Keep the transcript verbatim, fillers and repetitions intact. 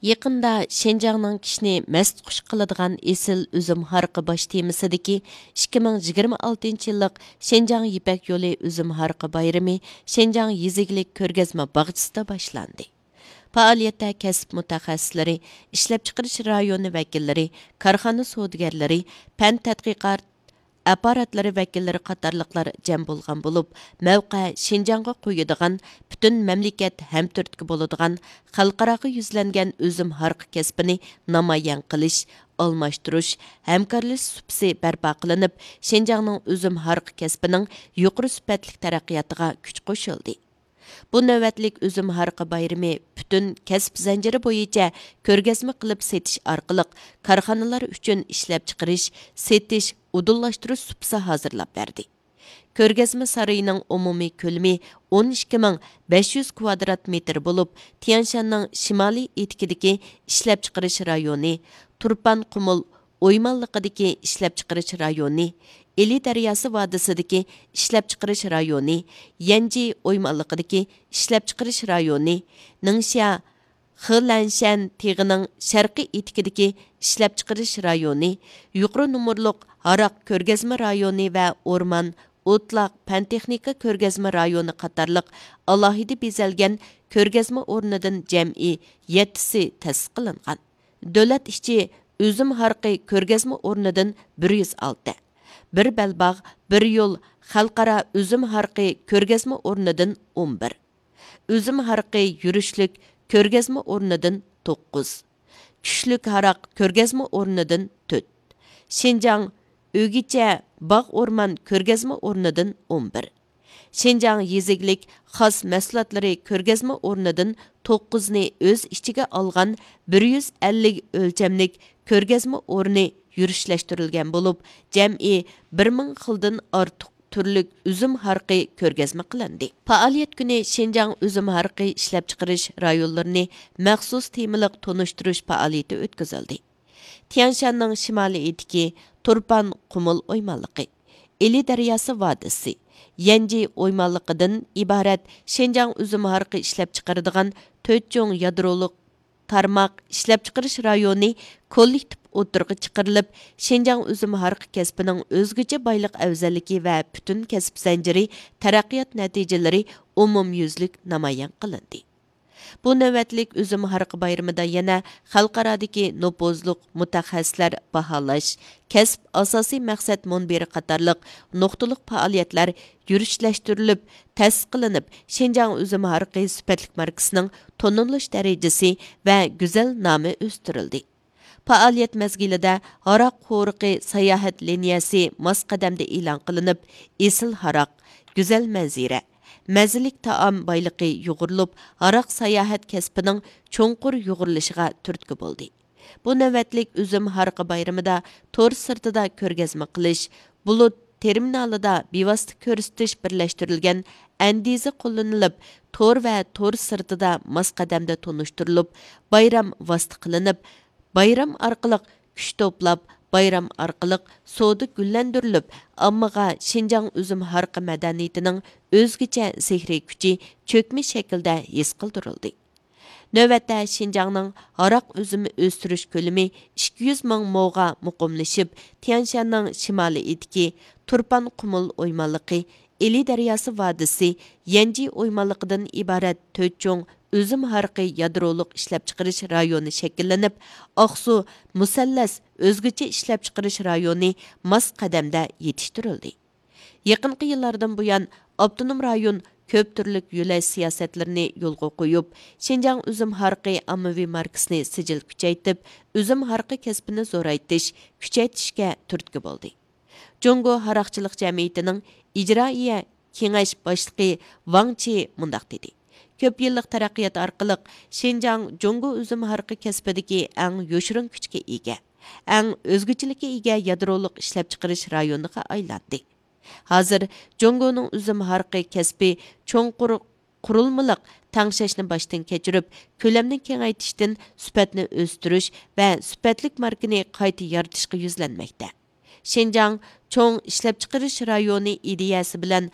يېقىندا شىنجاڭنىڭ كىشىنى مەستخۇش قىلىدىغان ئېسىل ئۈزۈم ھارىقى باش تېمىسىدىكى ئىككى مىڭ يىگىرمە ئالتىنچى يىللىق شىنجاڭ يىپەك يولى ئۈزۈم ھارىقى بايرىمى شىنجاڭ يېزا ئىگىلىك كۆرگەزمە باغچىسىدا باشلاندى. پائالىيەتتە كەسىپ مۇتەخەسسىسلىرى، ئىشلەپچىقىرىش رايونى ۋەكىللىرى، كارخانا سودىگەرلىرى، پەن تەتقىقات ئاپپاراتلىرى ۋەكىللىرى قاتارلىقلار جەم بولغان بولۇپ، مەۋقە شىنجاڭغا قويىدىغان، پۈتۈن مەملىكەت ھەمتۈرتكە بولىدىغان، خەلقئاراغا يۈزلەنگەن ئۈزۈم ھارىقى كەسپىنى نامايان قىلىش، ئالماشتۇرۇش، ھەمكارلىشىش سۇپىسى بەرپا قىلىنىپ، شىنجاڭنىڭ ئۈزۈم ھارىقى كەسپىنىڭ يۇقىرى سۈپەتلىك تەرەققىياتىغا كۈچ قوشۇلدى. بۇ نۆۋەتلىك ئۈزۈم ھارىقى بايرىمى پۈتۈن كەسىپ زەنجىرى بويىچە كۆرگەزمە قىلىپ سېتىش ئارقىلىق كارخانىلار ئۈچۈن ئىشلەپچىقىرىش، سېتىش، ئۇدۇللاشتۇرۇش سۇپىسى ھازىرلاپ بەردى. كۆرگەزمە سارىيىنىڭ ئومۇمىي كۆلىمى ئون ئىككى مىڭ بەش يۈز كۋادرات مېتىر بولۇپ، تيەنشاننىڭ شىمالىي ئېتىكىدىكى ئىشلەپچىقىرىش رايونى، تۇرپان قۇمۇل ئويمانلىقىدىكى ئىشلەپچىقىرىش رايونى، ئىلى دەرياسى ۋادىسىدىكى ئىشلەپچىقىرىش رايونى، يەنجى ئويمانلىقىدىكى ئىشلەپچىقىرىش رايونى، نىڭشيا خېلەنشەن تېغىنىڭ شەرقىي ئېتىكىدىكى ئىشلەپچىقىرىش رايونى، يۇقىرى نومۇرلۇق ھاراق كۆرگەزمە رايونى ۋە ئورمان، ئوتلاق پەن تېخنىكا كۆرگەزمە رايونى قاتارلىق ئالاھىدە بېزەلگەن كۆرگەزمە ئورنىدىن جەمئىي يەتتىسى تەسىس قىلىنغان. دۆلەت ئىچى ئۈزۈم ھارىقى كۆرگەزمە ئورنىدىن بىر يۈز ئالتە، بىر بەلباغ، بىر يول خەلقئارا ئۈزۈم ھارىقى كۆرگەزمە ئورنىدىن ئون بىر، ئۈزۈم ھارىقى يۈرۈشلۈك كۆرگەزمە ئورنىدىن توققۇز، چۈشلۈك ھاراق كۆرگەزمە ئورنىدىن تۆت، شىنجاڭ ئۆگىچە باغ ئورمان كۆرگەزمە ئورنىدىن ئون بىر، شىنجاڭ يېزا ئىگىلىك خاس مەھسۇلاتلىرى كۆرگەزمە ئورنىدىن توققۇزنى ئۆز ئىچىگە ئالغان بىر يۈز ئەللىك ئۆلچەملىك كۆرگەزمە ئورنى يۈرۈشلەشتۈرۈلگەن بولۇپ، جەمئىي بىر مىڭ خىلدىن ئارتۇق تۈرلۈك ئۈزۈم ھارىقى كۆرگەزمە قىلىندى. پائالىيەت كۈنى شىنجاڭ ئۈزۈم ھارىقى ئىشلەپچىقىرىش رايونلىرىنى مەخسۇس تېمىلىق تونۇشتۇرۇش پائالىيىتى ئۆتكۈزۈلدى. تيەنشاننىڭ شىمالىي ئېتىكى، تۇرپان قۇمۇل ئويمانلىقى، ئىلى دەرياسى ۋادىسى، يەنجى ئويمانلىقىدىن ئىبارەت شىنجاڭ ئۈزۈم ھارىقى ئىشلەپچىقىرىدىغان تۆت چوڭ يادرولۇق تارماق ئىشلەپچىقىرىش رايونى كوللېكتىپ ئوتتۇرىغا چىقىرىلىپ، شىنجاڭ ئۈزۈم ھارىقى كەسپىنىڭ ئۆزگىچە بايلىق ئەۋزەللىكى ۋە پۈتۈن كەسىپ زەنجىرى تەرەققىيات نەتىجىلىرى ئومۇميۈزلۈك نامايان قىلىندى. بۇ نۆۋەتلىك ئۈزۈم ھارىقى بايرىمىدا يەنە خەلقئارادىكى نوپۇزلۇق مۇتەخەسسىسلەر باھالاش، كەسىپ ئاساسىي مەقسەت مۇنبىرى قاتارلىق نۇقتىلىق پائالىيەتلەر يۈرۈشلەشتۈرۈلۈپ، تەسىس قىلىنىپ، شىنجاڭ ئۈزۈم ھارىقى سۈپەتلىك ماركىسىنىڭ تونۇلۇش دەرىجىسى ۋە گۈزەل نامى ئۆستۈرۈلدى. پائالىيەت مەزگىلىدە ھاراق قورۇقى ساياھەت لىنىيەسى ماس قەدەمدە ئېلان قىلىنىپ، ئېسىل ھاراق، گۈزەل مەنزىرە، مەززىلىك تائام بايلىقى يۇغۇرۇلۇپ، ھاراق ساياھەت كەسپىنىڭ چوڭقۇر يۇغۇرۇلۇشىغا تۈرتكە بولدى. بۇ نۆۋەتلىك ئۈزۈم ھارىقى بايرىمىدا تور سىرتىدا كۆرگەزمە قىلىش، بۇلۇت تېرمىنالىدا بىۋاسىتە كۆرسىتىش بىرلەشتۈرۈلگەن ئەندىزە قوللىنىلىپ، تور ۋە تور سىرتىدا ماس قەدەمدە تونۇشتۇرۇلۇپ، بايرام ۋاسىتە قىلىنىپ، بايرام ئارقىلىق كۈچ توپلاپ، بايرام ئارقىلىق سودا گۈللەندۈرۈلۈپ، ئاممىغا شىنجاڭ ئۈزۈم ھارىقى مەدەنىيىتىنىڭ ئۆزگىچە سېھرىي كۈچى چۆكمە شەكىلدە ھېس قىلدۇرۇلدى. نۆۋەتتە شىنجاڭنىڭ ھاراق ئۈزۈمى ئۆستۈرۈش كۆلىمى ئىككى يۈز مىڭ موغا مۇقىملىشىپ، تيەنشاننىڭ شىمالىي ئېتىكى، تۇرپان قۇمۇل ئويمانلىقى، ئىلى دەرياسى ۋادىسى، يەنجى ئويمانلىقىدىن ئىبارەت تۆت چوڭ ئۈزۈم ھارىقى يادرولۇق ئىشلەپچىقىرىش رايونى شەكىللىنىپ، ئاقسۇ مۇسەللەس ئۆزگىچە ئىشلەپچىقىرىش رايونى ماس قەدەمدە يېتىشتۈرۈلدى. يېقىنقى يىللاردىن بۇيان، ئاپتونوم رايون كۆپ تۈرلۈك يۆلەش سىياسەتلىرىنى يولغا قويۇپ، شىنجاڭ ئۈزۈم ھارىقى ئاممىۋى ماركىسىنى سىجىل كۈچەيتىپ، ئۈزۈم ھارىقى كەسپىنى زورايتىش، كۈچەيتىشكە تۈرتكە بولدى. جۇڭگو ھاراقچىلىق جەمئىيىتىنىڭ ئىجرائىيە كېڭەش باشلىقى ۋاڭ چى مۇنداق دېدى: كۆپ يىللىق تەرەققىيات ئارقىلىق شىنجاڭ جۇڭگو ئۈزۈم ھارىقى كەسپىدىكى ئەڭ يوشۇرۇن كۈچكە ئىگە، ئەڭ ئۆزگىچىلىككە ئىگە يادرولۇق ئىشلەپچىقىرىش رايونىغا ئايلاندى. ھازىر جۇڭگونىڭ ئۈزۈم ھارىقى كەسپى چوڭقۇر قۇرۇلمىلىق تەڭشەشنى باشتىن كەچۈرۈپ، كۆلەمنى كېڭەيتىشتىن سۈپەتنى ئۆستۈرۈش ۋە سۈپەتلىك ماركىنى قايتا يارىتىشقا يۈزلەنمەكتە. شىنجاڭ چوڭ ئىشلەپچىقىرىش رايونى ئىدىيەسى بىلەن